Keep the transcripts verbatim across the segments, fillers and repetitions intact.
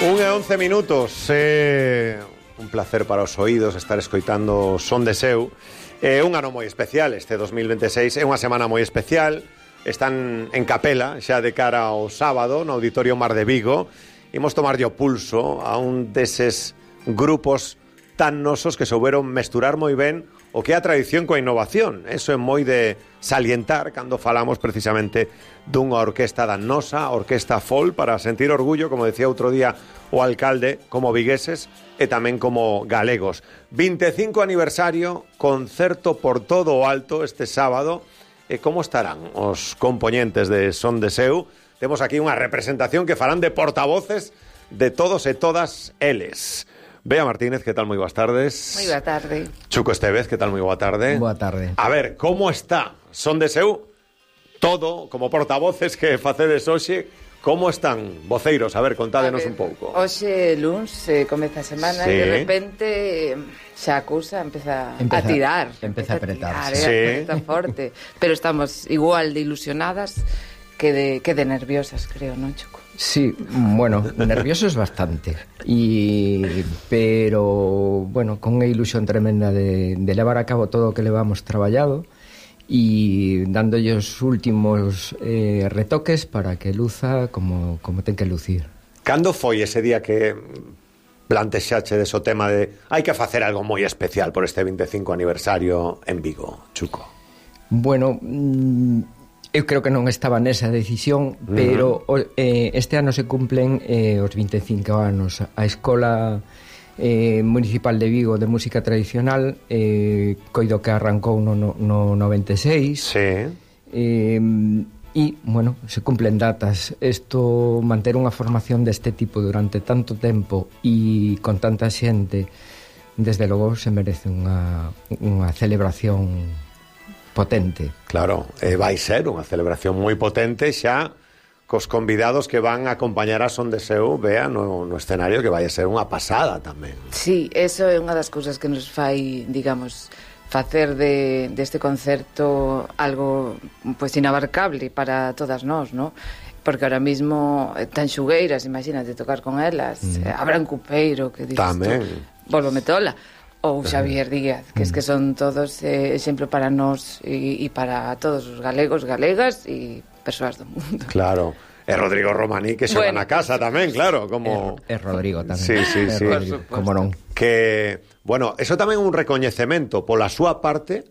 Un e once minutos, é un placer para os oídos estar escoitando Son de Seu. É un ano moi especial, este dos mil veintiséis, é unha semana moi especial. Están en capela, xa de cara ao sábado, no Auditorio Mar de Vigo. Imos tomarlle o pulso a un deses grupos tan nosos que souberon mesturar moi ben o que é a tradición coa innovación. Eso é moi de salientar cando falamos precisamente dunha orquesta da nosa, Orquesta Fol, para sentir orgullo, como decía outro día o alcalde, como vigueses e tamén como galegos. vinte e cinco aniversario, concerto por todo o alto este sábado. E como estarán os compoñentes de Son de Seu? Temos aquí unha representación que farán de portavoces de todos e todas eles. Bea Martínez, que tal? Moi boas tardes. Moi boa tarde. Chuco Estevez, que tal? Moi boa tarde. Boa tarde. A ver, como está Son de Seu? Todo, como portavoces que facedes hoxe, como están, voceiros? A ver, contádenos a ver, un pouco. Hoxe, luns, eh, comeza a semana sí. E de repente xa a cousa empeza, empeza a tirar. Empeza a apretar. A tirar, sí. eh, Está forte. Pero estamos igual de ilusionadas que de, que de nerviosas, creo, non, Chuco? Sí, bueno, nerviosos bastante. Y, pero, bueno, con unha ilusión tremenda de, de levar a cabo todo o que levamos traballado e dándolle os últimos eh, retoques para que luza como, como ten que lucir. Cando foi ese día que plantexachedes o tema de hai que facer algo moi especial por este vinte e cinco aniversario en Vigo, Chuco? Bueno, eu creo que non estaba nesa decisión, uh-huh. pero eh, este ano se cumplen eh, os vinte e cinco anos. A Escola eh, Municipal de Vigo de Música Tradicional eh, coido que arrancou no, no, no noventa e seis. Sí. Eh, e, bueno, se cumplen datas. Isto, manter unha formación deste tipo durante tanto tempo e con tanta xente, desde logo se merece unha, unha celebración potente. Claro, eh, vai ser unha celebración moi potente xa cos convidados que van a acompañar a Son de Seu, Bea, no, no escenario, que vai a ser unha pasada tamén. Sí, eso é unha das cousas que nos fai, digamos, facer de deste concerto algo pues inabarcable para todas nós, ¿no? Porque ahora mismo tan xugueiras, imagínate tocar con elas, mm. eh, Abraham Cupeiro, que dices tamén. Tú, Volvo Metola, ou Xavier Díaz, que es que son todos eh, exemplo para nós e, e para todos os galegos, galegas e persoas do mundo. Claro. E Rodrigo Romaní, que xoga bueno, na casa tamén, claro, como... É Rodrigo tamén. Sí, sí, sí. Rodrigo, como non. Que, bueno, eso tamén é un recoñecemento pola súa parte,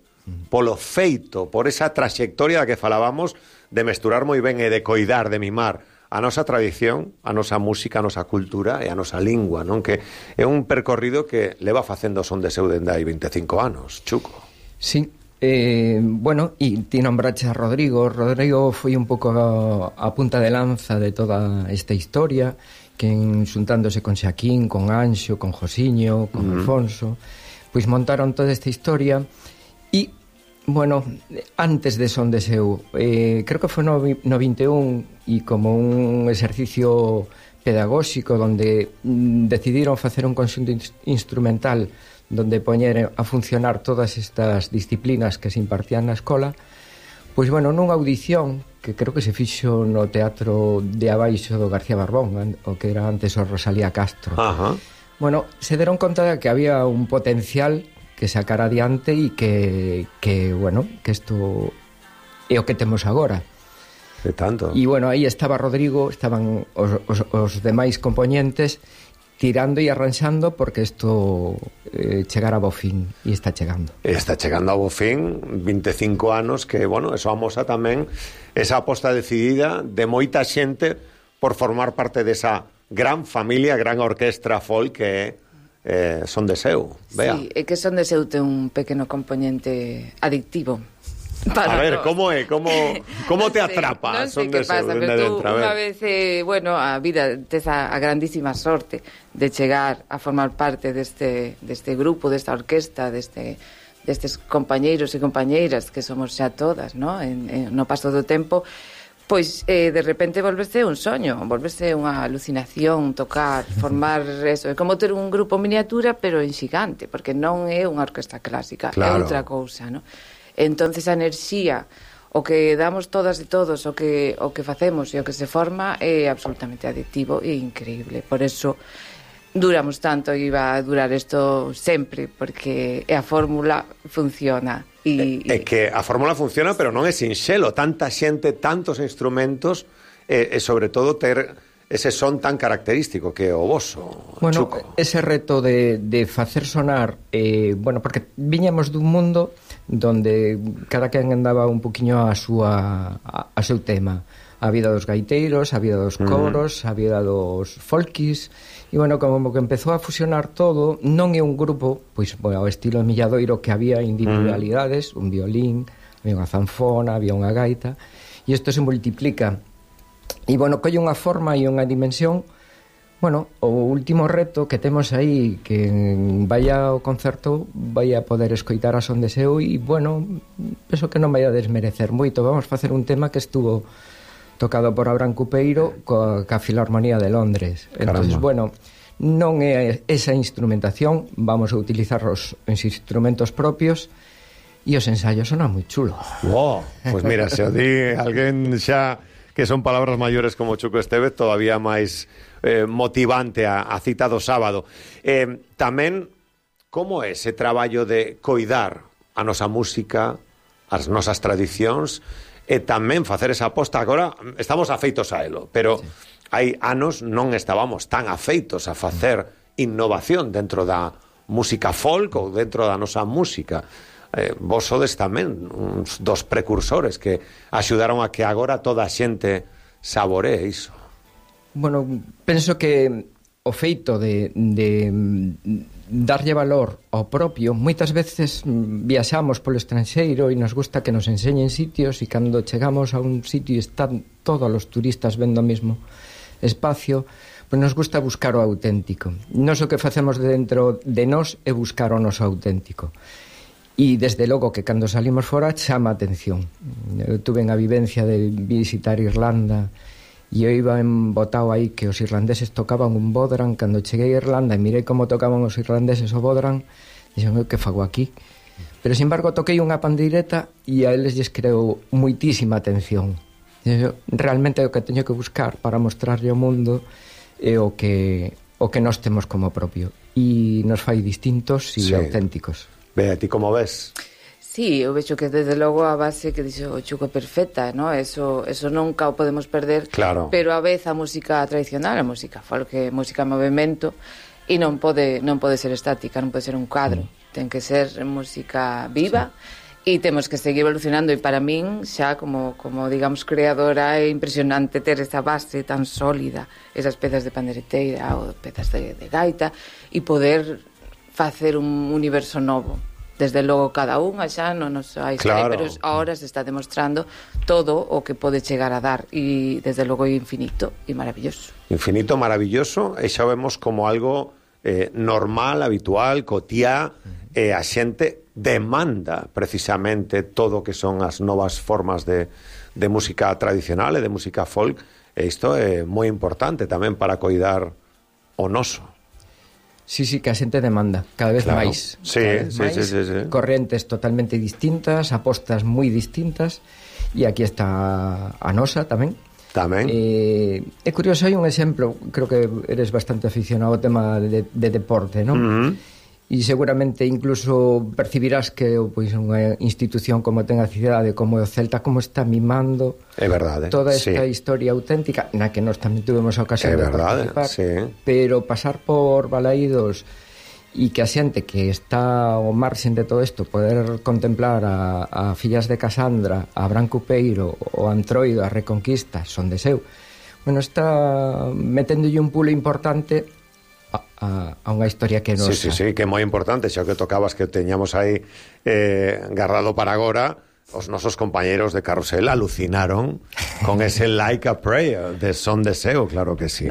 polo feito, por esa trayectoria da que falábamos de mesturar moi ben e de coidar, de mimar a nosa tradición, a nosa música, a nosa cultura e a nosa lingua, non? Que é un percorrido que leva facendo Son de Seu dende hai vinte e cinco anos, Chuco. Sí. Eh, bueno, e ti nombrache a Rodrigo. Rodrigo foi un pouco a, a punta de lanza de toda esta historia, que en, xuntándose con Xaquín, con Anxo, con Josiño, con uh-huh. Alfonso, pois montaron toda esta historia. E, bueno, antes de Son de Seu, eh, creo que foi no, no vinte e un, e como un exercicio pedagóxico donde mm, decidiron facer un conxunto in- instrumental donde poñer a funcionar todas estas disciplinas que se impartían na escola, pois, bueno, nunha audición que creo que se fixo no Teatro de Abaixo do García Barbón, o que era antes o Rosalía Castro. Ajá. Bueno, se deron conta de que había un potencial que sacar adiante e que, que bueno, que isto é o que temos agora. De tanto. E, bueno, aí estaba Rodrigo, estaban os, os, os demais componentes tirando e arranxando porque isto eh, chegara a bo fin e está chegando. Está chegando a bo fin, vinte e cinco anos que, bueno, eso amosa tamén esa aposta decidida de moita xente por formar parte desa gran familia, gran orquestra folk que é eh, Son de Seu. Vea. Sí, é que Son de Seu ten un pequeno componente adictivo. Para a ver, como é? Como, como te atrapa? Non sei Son que de Seu, pasa, pero tú dentro, unha vez, eh, bueno, a vida tes a, a grandísima sorte de chegar a formar parte deste, deste grupo, desta orquesta, deste, destes compañeiros e compañeiras que somos xa todas, ¿no? En, en, no paso do tempo, pois eh, de repente volvese un soño, volvese unha alucinación, tocar, formar eso, é como ter un grupo miniatura pero en xigante, porque non é unha orquesta clásica, claro. É outra cousa, ¿no? Entonces a enerxía, o que damos todas e todos, o que, o que facemos e o que se forma é absolutamente adictivo e increíble. Por eso duramos tanto e va a durar isto sempre, porque a fórmula funciona. E, é, é que a fórmula funciona, pero non é sinxelo. Tanta xente, tantos instrumentos, e, e sobre todo ter ese son tan característico que é o voso, bueno, Chuco. Ese reto de, de facer sonar, eh, bueno, porque viñamos dun mundo donde cada quen andaba un poquinho a súa a, a seu tema. A vida dos gaiteiros, a vida dos coros, uh-huh. a vida dos folkis, e bueno, como que empezou a fusionar todo. Non é un grupo, pois, bueno, ao estilo Milladoiro, que había individualidades, uh-huh. un violín, había unha zanfona, había unha gaita, e isto se multiplica. E, bueno, colle unha forma e unha dimensión. Bueno, o último reto que temos aí, que vaya ao concerto, vai a poder escoitar a son de seu, e, bueno, penso que non vai a desmerecer moito. Vamos facer un tema que estuvo tocado por Abraham Cupeiro coa, ca Filarmonía de Londres. Entonces, bueno, non é esa instrumentación, vamos a utilizar os, os instrumentos propios, e os ensaios sonan moi chulos. Wow, pues mira, se o di alguén xa que son palabras maiores como Chuco Estévez, todavía máis eh, motivante a, a cita do sábado. Eh, tamén, como é ese traballo de coidar a nosa música, as nosas tradicións, e tamén facer esa aposta? Agora estamos afeitos a elo, pero sí. hai anos non estábamos tan afeitos a facer innovación dentro da música folk ou dentro da nosa música. Eh, vos sodes tamén uns dos precursores que axudaron a que agora toda a xente saboree iso. Bueno, penso que o feito de, de darlle valor ao propio, moitas veces viaxamos polo estranxeiro e nos gusta que nos enseñen sitios, e cando chegamos a un sitio e están todos os turistas vendo o mesmo espacio, pois nos gusta buscar o auténtico. Nos o que facemos dentro de nós é buscar o noso auténtico. E desde logo que cando salimos fora chama a atención. Eu tuve a vivencia de visitar Irlanda e eu iba embotado aí que os irlandeses tocaban un bodhrán. Cando cheguei a Irlanda e mirei como tocaban os irlandeses o bodhrán, dixen, eu que fago aquí? Pero, sin embargo, toquei unha pandeireta e a eles lles creou moitísima atención. Eu, realmente o que teño que buscar para mostrarlle ao mundo é o que, o que nós temos como propio. E nos fai distintos e sí. auténticos. Ve, a ti como ves? Sí, eu vexo que desde logo a base que dixo o Chuco é perfecta, ¿no? Eso, eso nunca o podemos perder, claro. Pero a vez a música tradicional, a música folk, a música en movimento, e non pode, non pode ser estática, non pode ser un cuadro, mm. ten que ser música viva, sí. E temos que seguir evolucionando, e para min xa como, como digamos creadora é impresionante ter esa base tan sólida, esas pezas de pandereteira ou pezas de, de gaita, e poder facer un universo novo. Desde logo cada unha xa non nos hai, claro. Pero ahora se está demostrando todo o que pode chegar a dar, e desde logo é infinito e maravilloso. Infinito, maravilloso, e xa vemos como algo eh, normal, habitual, cotiá, e a xente demanda precisamente todo o que son as novas formas de, de música tradicional e de música folk, e isto é moi importante tamén para coidar o noso. Sí, sí, que a xente demanda cada vez claro. máis, sí, cada vez sí, máis sí, sí, sí. correntes totalmente distintas, apostas moi distintas, e aquí está a nosa tamén. Tamén. Eh, é curioso, hai un exemplo, creo que eres bastante aficionado ao tema de, de deporte, non? Uh-huh. E seguramente incluso percibirás que pois, unha institución como ten a cidade, como o Celta, como está mimando é verdade, toda esta sí. historia auténtica, na que nós tamén tuvemos a ocasión é de verdade, participar, sí. pero pasar por Balaídos e que a xente que está ao marxen de todo isto poder contemplar a, a Fillas de Casandra, a Abraham Cupeiro, o Antroido, a Reconquista, son de seu, bueno, está meténdolle un pulo importante a, a, a unha historia que nosa. Sí, sí, sí, que é moi importante, xa que tocabas que teñamos aí eh, guardado para agora. Os nosos compañeros de Carrusel alucinaron con ese Like a Prayer de Son de Seu, claro que sí.